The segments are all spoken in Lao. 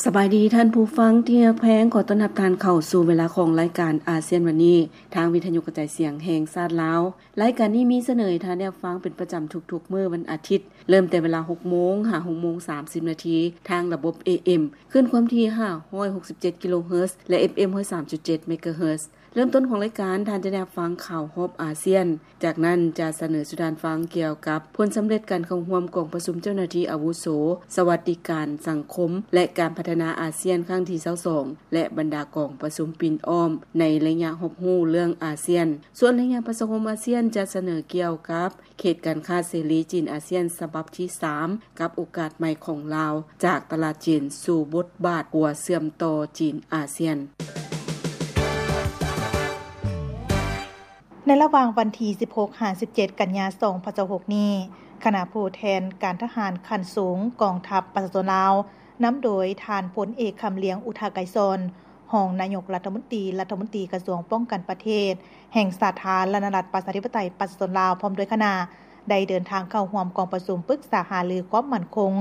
ສະບາຍດີທ່ານຜູ້ຟັງທີ່ຮັກແພງ, ຂໍຕ້ອນຮັບທ່ານເຂົ້າສູ່ເວລາຂອງລາຍການອາຊຽນວັນນີ້ ທາງວິທະຍຸກະຈາຍສຽງແຫ່ງຊາດລາວ. ລາຍການນີ້ມີສະເໜີໃຫ້ທ່ານໄດ້ຮັບຟັງເປັນປະຈຳທຸກໆມື້ວັນອາທິດ, ເລີ່ມແຕ່ເວລາຫົກໂມງຫາຫົກໂມງສາມສິບນາທີ ທາງລະບົບ ເອເອັມ ຄື້ນຄວາມຖີ່ຫ້າຮ້ອຍຫົກສິບເຈັດກິໂລເຮີດ ແລະ ເອັຟເອັມ ຮ້ອຍສາມຈຸດເຈັດເມກາເຮີດ. ເລີ່ມຕົ້ນຂອງລາຍການ, ທ່ານຈະໄດ້ຮັບຟັງຂ່າວຮອບອາຊຽນ. ຈາກນັ້ນຈະສະເໜີສູ່ທ່ານຟັງກ່ຽວກັບຜົນສຳເລັດການເຂົ້າຮ່ວມກອງປະຊຸມເຈົ້າໜ້າທີ່ອາວຸໂສ, ສະຫວັດດີການສັງຄົມ ແລະ ການພັດທະນາອາຊຽນຄັ້ງທີຊາວສອງ ແລະ ບັນດາກອງປະຊຸມປິ່ນອ້ອມໃນໄລຍະຮັບຮູ້ເລື່ອງອາຊຽນ. ສ່ວນໄລຍະປະຊາຄົມອາຊຽນຈະສະເໜີກ່ຽວກັບເຂດການຄ້າເສລີຈີນອາຊຽນສະບັບທີສາມ ກັບໂອກາດໃໝ່ຂອງລາວ ຈາກຕະຫຼາດຈີນສູ່ບົດບາດຂົວເຊື່ອມຕໍ່ຈີນອາຊຽນ. ໃນລະຫວ່າງວັນທີສິບຫົກຫາສິບເຈັດ ກັນຍາ ສອງພັນຊາວຫົກນີ້, ຄະນະຜູ້ແທນການທະຫານຂັ້ນສູງກອງທັບປະຊາຊົນລາວ ນຳໂດຍທ່ານພົນເອກ ຄຳລຽງ ອຸທະໄກສອນ ຮອງນາຍົກລັດຖະມົນຕີ, ລັດຖະມົນຕີກະຊວງປ້ອງກັນປະເທດແຫ່ງສາທາລະນະລັດ ປະຊາທິປະໄຕ ປະຊາຊົນລາວ ພ້ອມດ້ວຍຄະນະ ໄດ້ເດີນທາງເຂົ້າຮ່ວມກອງປະຊຸມປຶກສາຫາລືຄວາມໝັ້ນຄົງ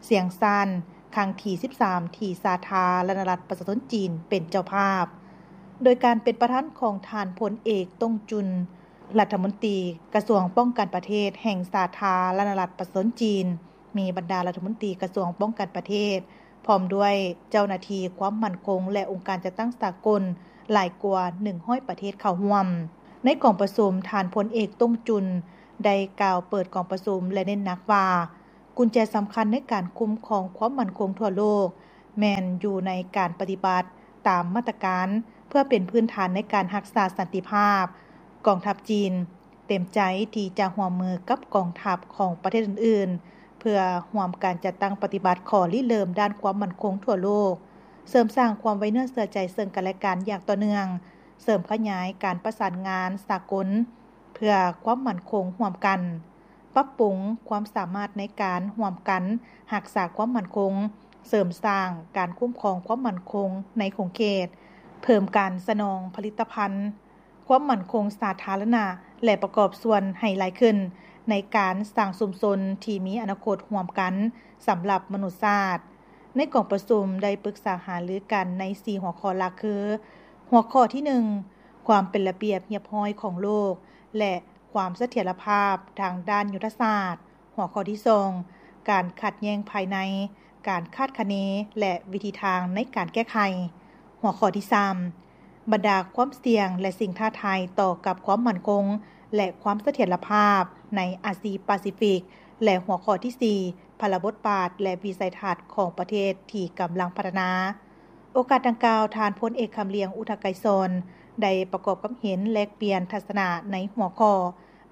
ຊຽງຊານ ຄັ້ງທີສິບສາມ ທີ່ສາທາລະນະລັດປະຊາຊົນຈີນເປັນເຈົ້າພາບ, ໂດຍການເປັນປະທານຂອງທ່ານພົນເອກ ຕົງຈຸນ ລັດຖະມົນຕີກະຊວງປ້ອງກັນປະເທດແຫ່ງສາທາລະນະລັດປະຊາຊົນຈີນ, ມີບັນດາລັດຖະມົນຕີກະຊວງປ້ອງກັນປະເທດ ພ້ອມດ້ວຍເຈົ້າໜ້າທີ່ຄວາມໝັ້ນຄົງ ແລະ ອົງການຈັດຕັ້ງສາກົນຫຼາຍກວ່າໜຶ່ງຮ້ອຍປະເທດເຂົ້າຮ່ວມ. ໃນກອງປະຊຸມ, ທ່ານພົນເອກ ຕົງຈຸນ ໄດ້ກ່າວເປີດກອງປະຊຸມ ແລະ ເນັ້ນໜັກວ່າ ກຸນແຈສຳຄັນໃນການຄຸ້ມຄອງຄວາມໝັ້ນຄົງທົ່ວໂລກ ແມ່ນຢູ່ໃນການປະຕິບັດຕາມມາດຕະການ ເພື່ອເປັນພື້ນຖານໃນການຮັກສາສັນຕິພາບ. ກອງທັບຈີນເຕັມໃຈທີ່ຈະຮ່ວມມືກັບກອງທັບຂອງປະເທດອື່ນໆ ເພື່ອຮ່ວມກັນຈັດຕັ້ງປະຕິບັດຂໍ້ລິເລີ່ມດ້ານຄວາມໝັ້ນຄົງທົ່ວໂລກ, ເສີມສ້າງຄວາມໄວ້ເນື້ອເຊື່ອໃຈເຊິ່ງກັນແລະກັນຢ່າງຕໍ່ເນື່ອງ, ເສີມຂະຫຍາຍການປະສານງານສາກົນເພື່ອຄວາມໝັ້ນຄົງຮ່ວມກັນ, ປັບປຸງຄວາມສາມາດໃນການຮ່ວມກັນຮັກສາຄວາມໝັ້ນຄົງ, ເສີມສ້າງການຄຸ້ມຄອງຄວາມໝັ້ນຄົງໃນຂົງເຂດ, ເພີ່ມການສະໜອງຜະລິດຕະພັນຄວາມໝັ້ນຄົງສາທາລະນະ ແລະ ປະກອບສ່ວນໃຫ້ຫຼາຍຂຶ້ນໃນການສ້າງຊຸມຊົນທີ່ມີອະນາຄົດຮ່ວມກັນສຳລັບມະນຸດຊາດ. ໃນກອງປະຊຸມໄດ້ປຶກສາຫາລືກັນໃນສີ່ຫົວຂໍ້ຫຼັກຄື ຫົວຂໍ້ທີໜຶ່ງ ຄວາມເປັນລະບຽບຮຽບຮ້ອຍຂອງໂລກ ແລະ ຄວາມສະຖຽນລະພາບທາງດ້ານຍຸດທະສາດ, ຫົວຂໍ້ທີສອງ ການຂັດແຍ່ງພາຍໃນ, ການຄາດຄະເນ ແລະ ວິທີທາງໃນການແກ້ໄຂ, ຫົວຂໍ້ທີສາມ ບັນດາຄວາມສ່ຽງ ແລະ ສິ່ງທ້າທາຍຕໍ່ກັບຄວາມໝັ້ນຄົງ ແລະ ຄວາມສະຖຽນລະພາບໃນອາຊີປາຊີຟິກ ແລະ ຫົວຂໍ້ທີສີ່ ພາລະບົດບາດ ແລະ ວິໄສທັດຂອງປະເທດທີ່ກຳລັງພັດທະນາ. ໂອກາດດັ່ງກ່າວ, ທ່ານພົນເອກ ຄຳລຽງ ອຸທະໄກສອນ ໄດ້ປະກອບຄຳເຫັນແລກປ່ຽນທັດສະນະໃນຫົວຂໍ້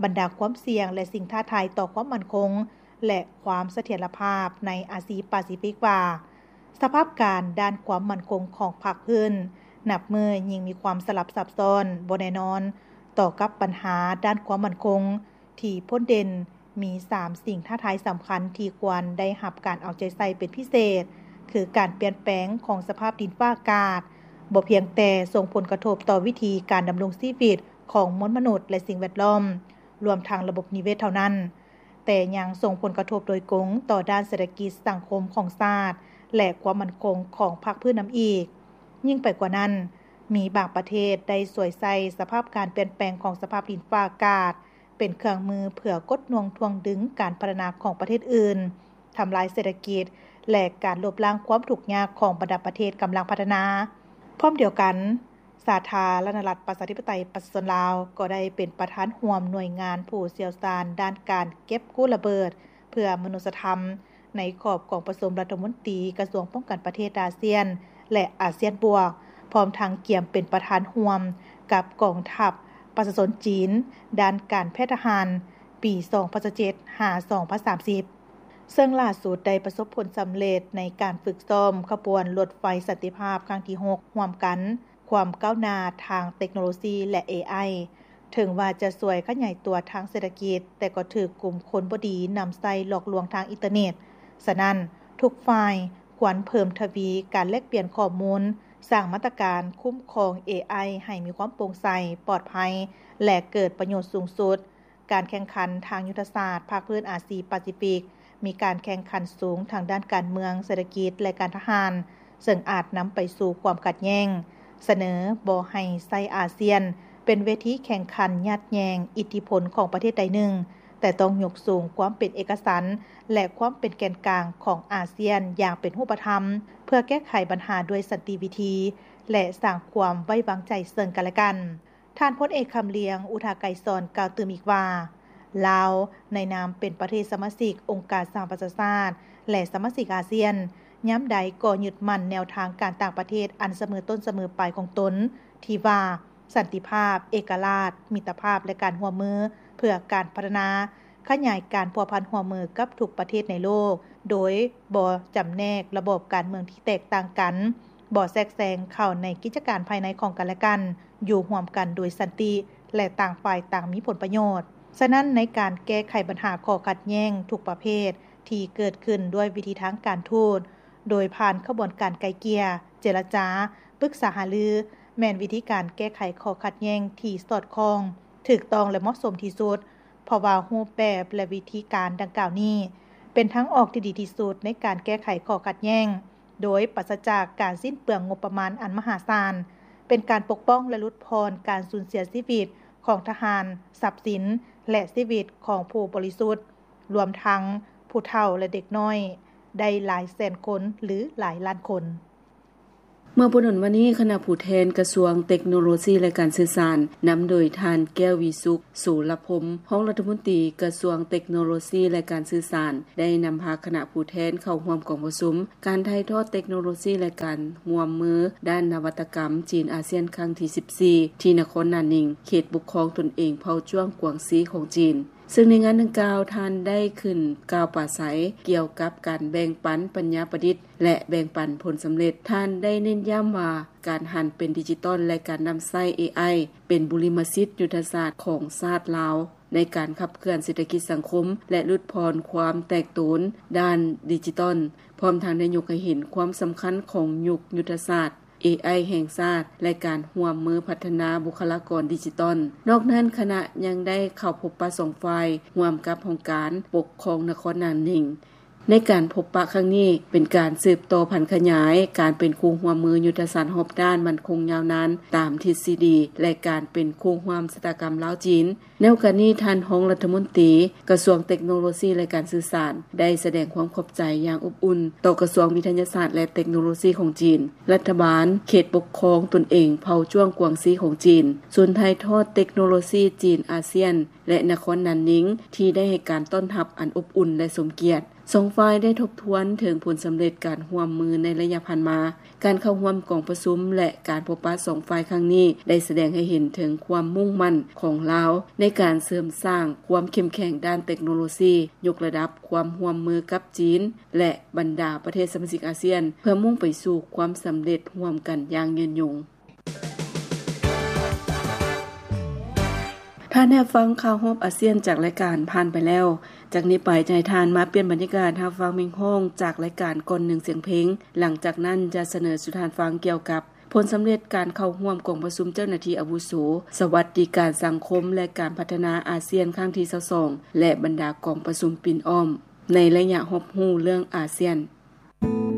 ບັນດາຄວາມສ່ຽງ ແລະ ສິ່ງທ້າທາຍຕໍ່ຄວາມໝັ້ນຄົງ ແລະ ຄວາມສະຖຽນລະພາບໃນອາຊີປາຊີຟິກວ່າ ສະພາບການດ້ານຄວາມໝັ້ນຄົງຂອງພາກພື້ນ ນັບມື້ຍິ່ງມີຄວາມສະຫຼັບຊັບຊ້ອນ, ບໍ່ແນ່ນອນ ຕໍ່ກັບບັນຫາດ້ານຄວາມໝັ້ນຄົງ ທີ່ພົ້ນເດັ່ນ ມີສາມສິ່ງທ້າທາຍສຳຄັນທີ່ຄວນໄດ້ຮັບການເອົາໃຈໃສ່ເປັນພິເສດ ຄືການປ່ຽນແປງຂອງສະພາບດິນຟ້າອາກາດ ບໍ່ພຽງແຕ່ສົ່ງຜົນກະທົບຕໍ່ວິຖີການດຳລົງຊີວິດຂອງມວນມະນຸດ ແລະ ສິ່ງແວດລ້ອມ, ລວມທັງລະບົບນິເວດເທົ່ານັ້ນ, ແຕ່ຍັງສົ່ງຜົນກະທົບໂດຍກົງຕໍ່ດ້ານເສດຖະກິດສັງຄົມຂອງຊາດ ແລະ ຄວາມໝັ້ນຄົງຂອງພາກພື້ນນຳອີກ. ຍິ່ງໄປກວ່ານັ້ນ, ມີບາງປະເທດໄດ້ສວຍໃສ່ສະພາບການປ່ຽນແປງຂອງສະພາບດິນຟ້າອາກາດ ເປັນເຄື່ອງມືເພື່ອກົດໜ່ວງຖ່ວງດຶງການພັດທະນາຂອງປະເທດອື່ນ, ທຳລາຍເສດຖະກິດ ແລະ ການລົບລ້າງຄວາມທຸກຍາກຂອງບັນດາປະເທດກຳລັງພັດທະນາ. ພ້ອມດຽວກັນ, ສາທາລະນະລັດປະຊາທິປະໄຕປະຊາຊົນລາວ ກໍໄດ້ເປັນປະທານຮ່ວມໜ່ວຍງານຜູ້ຊ່ຽວຊານດ້ານການເກັບກູ້ລະເບີດເພື່ອມະນຸດສະທຳ ໃນຂອບກອງປະຊຸມລັດຖະມົນຕີກະຊວງປ້ອງກັນປະເທດອາຊຽນ ແລະ ອາຊຽນບວກ, ພ້ອມທັງກຽມເປັນປະທານຮ່ວມກັບກອງທັບປະຊາຊົນຈີນ ດ້ານການແພດທະຫານ ປີສອງພັນຊາວເຈັດ ຫາ ສອງພັນສາມສິບ ເຊິ່ງຫຼ້າສຸດໄດ້ປະສົບຜົນສຳເລັດໃນການຝຶກຊ້ອມຂະບວນລົດໄຟສັນຕິພາບຄັ້ງທີຫົກ ຮ່ວມກັນ ຄວາມກ້າວໜ້າທາງເຕັກໂນໂລຊີ ແລະ ເອໄອ ເຖິງວ່າຈະຊ່ວຍຂະຫຍາຍຕົວທາງເສດຖະກິດ, ແຕ່ກໍຖືກກຸ່ມຄົນບໍ່ດີນຳໃຊ້ຫຼອກລວງທາງອິນເຕີເນັດ. ສະນັ້ນ, ທຸກຝ່າຍຄວນເພີ່ມທະວີການແລກປ່ຽນຂໍ້ມູນ, ສ້າງມາດຕະການຄຸ້ມຄອງເອໄອໃຫ້ມີຄວາມໂປ່ງໃສ, ປອດໄພ ແລະ ເກີດປະໂຫຍດສູງສຸດ. ການແຂ່ງຂັນທາງຍຸດທະສາດພາກພື້ນອາຊີປາຊີຟິກ ມີການແຂ່ງຂັນສູງທາງດ້ານການເມືອງ, ເສດຖະກິດ ແລະ ການທະຫານ, ເຊິ່ງອາດນຳໄປສູ່ຄວາມຂັດແຍ່ງ, ສະເໜີບໍ່ໃຫ້ໃຊ້ອາຊຽນເປັນເວທີແຂ່ງຂັນຍາດແຍ່ງອິດທິພົນຂອງປະເທດໃດໜຶ່ງ, ແຕ່ຕ້ອງຍົກສູງຄວາມເປັນເອກະສັນ ແລະ ຄວາມເປັນແກນກາງຂອງອາຊຽນຢ່າງເປັນຮູບປະທຳ ເພື່ອແກ້ໄຂບັນຫາດ້ວຍສັນຕິວິທີ ແລະ ສ້າງຄວາມໄວ້ວາງໃຈເຊິ່ງກັນແລະກັນ. ທ່ານພົນເອກ ຄຳລຽງ ອຸທາໄກສອນ ກ່າວຕື່ມອີກວ່າ ລາວໃນນາມເປັນປະເທດສະມາຊິກອົງການສະຫະປະຊາຊາດ ແລະ ສະມາຊິກອາຊຽນ ຍາມໃດກໍຍຶດໝັ້ນແນວທາງການຕ່າງປະເທດອັນສະເໝີຕົ້ນສະເໝີປາຍຂອງຕົນ ທີ່ວ່າ ສັນຕິພາບ, ເອກະລາດ, ມິດຕະພາບ ແລະ ການຮ່ວມມືເພື່ອການພັດທະນາ, ຂະຫຍາຍການພົວພັນຮ່ວມມືກັບທຸກປະເທດໃນໂລກ ໂດຍບໍ່ຈຳແນກລະບອບການເມືອງທີ່ແຕກຕ່າງກັນ, ບໍ່ແຊກແຊງເຂົ້າໃນກິດຈະການພາຍໃນຂອງກັນແລະກັນ, ຢູ່ຮ່ວມກັນໂດຍສັນຕິ ແລະ ຕ່າງຝ່າຍຕ່າງມີຜົນປະໂຫຍດ. ສະນັ້ນ, ໃນການແກ້ໄຂບັນຫາຂໍ້ຂັດແຍ່ງທຸກປະເພດທີ່ເກີດຂຶ້ນດ້ວຍວິທີທາງການທູດ, ໂດຍຜ່ານຂະບວນການໄກ່ເກ່ຍ, ເຈລະຈາ, ປຶກສາຫາລື ແມ່ນວິທີການແກ້ໄຂຂໍ້ຂັດແຍ່ງທີ່ສອດຄ່ອງ, ຖືກຕ້ອງ ແລະ ເໝາະສົມທີ່ສຸດ, ເພາະວ່າຮູບແບບ ແລະ ວິທີການດັ່ງກ່າວນີ້ ເປັນທາງອອກທີ່ດີທີ່ສຸດໃນການແກ້ໄຂຂໍ້ຂັດແຍ່ງ ໂດຍປາສະຈາກການສິ້ນເປືອງງົບປະມານອັນມະຫາສານ, ເປັນການປົກປ້ອງ ແລະ ຫຼຸດຜ່ອນການສູນເສຍຊີວິດຂອງທະຫານ, ຊັບສິນ ແລະ ຊີວິດຂອງຜູ້ບໍລິສຸດ, ລວມທັງຜູ້ເຖົ້າ ແລະ ເດັກນ້ອຍ ໄດ້ຫຼາຍແສນຄົນ ຫຼື ຫຼາຍລ້ານຄົນ. ເມື່ອບໍ່ດົນມານີ້, ຄະນະຜູ້ແທນກະຊວງເຕັກໂນໂລຊີ ແລະ ການສື່ສານ ນຳໂດຍທ່ານ ແກ້ວ ວິສຸກ ໂສລະພົມ ຮອງລັດຖະມົນຕີກະຊວງເຕັກໂນໂລຊີ ແລະ ການສື່ສານ ໄດ້ນຳພາຄະນະຜູ້ແທນເຂົ້າຮ່ວມກອງປະຊຸມ ການຖ່າຍທອດເຕັກໂນໂລຊີ ແລະ ການຮ່ວມມືດ້ານນະວັດຕະກຳ ຈີນອາຊຽນ ຄັ້ງທີສິບສີ່ ທີ່ນະຄອນໜານນິງ, ເຂດປົກຄອງຕົນເອງເຜົ່າຈ້ວງກວາງຊີຂອງຈີນ. ເຊິ່ງໃນງານດັ່ງກ່າວ, ທ່ານໄດ້ຂຶ້ນກ່າວປາໄສກ່ຽວກັບການແບ່ງປັນປັນຍາປະດິດ ແລະ ແບ່ງປັນຜົນສຳເລັດ. ທ່ານໄດ້ເນັ້ນຢ້ຳວ່າ ການຫັນເປັນດິຈິຕອນ ແລະ ການນຳໃຊ້ ເອໄອ ເປັນບຸລິມະສິດຍຸດທະສາດຂອງຊາດລາວ ໃນການຂັບເຄື່ອນເສດຖະກິດສັງຄົມ ແລະ ຫຼຸດຜ່ອນຄວາມແຕກໂຕນດ້ານດິຈິຕອນ, ພ້ອມທັງໄດ້ຍົກໃຫ້ເຫັນຄວາມສຳຄັນຂອງຍຸກຍຸດທະສາດ ເອໄອ ແຫ່ງຊາດ ແລະ ການຮ່ວມມືພັດທະນາບຸກຄະລາກອນດິຈິຕອນ. ນອກນັ້ນ, ຄະນະຍັງໄດ້ເຂົ້າພົບປະສອງຝ່າຍ ຮ່ວມກັບຫ້ອງການປົກຄອງນະຄອນໜານນິງ. ໃນການພົບປະຄັ້ງນີ້ ເປັນການສືບຕໍ່ຜັນຂະຫຍາຍການເປັນຄູ່ຮ່ວມມືຍຸດທະສາດຮອບດ້ານໝັ້ນຄົງຍາວນານຕາມທິດຊີດີ ແລະ ການເປັນຄູ່ຮ່ວມຊະຕາກຳລາວ-ຈີນ. ໃນໂອກາດນີ້, ທ່ານຮອງລັດຖະມົນຕີກະຊວງເຕັກໂນໂລຊີ ແລະ ການສື່ສານ ໄດ້ສະແດງຄວາມຂອບໃຈຢ່າງອົບອຸ່ນຕໍ່ກະຊວງວິທະຍາສາດ ແລະ ເຕັກໂນໂລຊີຂອງຈີນ, ລັດຖະບານເຂດປົກຄອງຕົນເອງເຜົ່າຈ້ວງກວາງຊີຂອງຈີນ, ສູນຖ່າຍທອດເຕັກໂນໂລຊີຈີນອາຊຽນ ແລະ ນະຄອນໜານນິງ ທີ່ໄດ້ໃຫ້ການຕ້ອນຮັບອັນອົບອຸ່ນ ແລະ ສົມກຽດ. ສອງຝ່າຍໄດ້ທົບທວນເຖິງຜົນສຳເລັດການຮ່ວມມືໃນໄລຍະຜ່ານມາ. ການເຂົ້າຮ່ວມກອງປະຊຸມ ແລະ ການພົບປະສອງຝ່າຍຄັ້ງນີ້ ໄດ້ສະແດງໃຫ້ເຫັນເຖິງຄວາມມຸ່ງໝັ້ນຂອງລາວໃນການເສີມສ້າງຄວາມເຂັ້ມແຂງດ້ານເຕັກໂນໂລຊີ, ຍົກລະດັບຄວາມຮ່ວມມືກັບຈີນ ແລະ ບັນດາປະເທດສະມາຊິກອາຊຽນ ເພື່ອມຸ່ງໄປສູ່ຄວາມສຳເລັດຮ່ວມກັນຢ່າງຍືນຍົງ. ທ່ານໄດ້ຮັບຟັງຂ່າວຮອບອາຊຽນຈາກລາຍການຜ່ານໄປແລ້ວ. ຈາກນີ້ໄປຈະໃຫ້ທ່ານມາປ່ຽນບັນຍາກາດຮັບຟັງເພງຮ້ອງຈາກລາຍການກ່ອນໜຶ່ງສຽງເພງ. ຫຼັງຈາກນັ້ນຈະສະເໜີສູ່ທ່ານຟັງກ່ຽວກັບຜົນສຳເລັດການເຂົ້າຮ່ວມກອງປະຊຸມເຈົ້າໜ້າທີ່ອາວຸໂສ ສະຫວັດດີການສັງຄົມ ແລະ ການພັດທະນາອາຊຽນຄັ້ງທີຊາວສອງ ແລະ ບັນດາກອງປະຊຸມປິ່ນອ້ອມໃນໄລຍະຮອບຮູ້ເລື່ອງອາຊຽນ.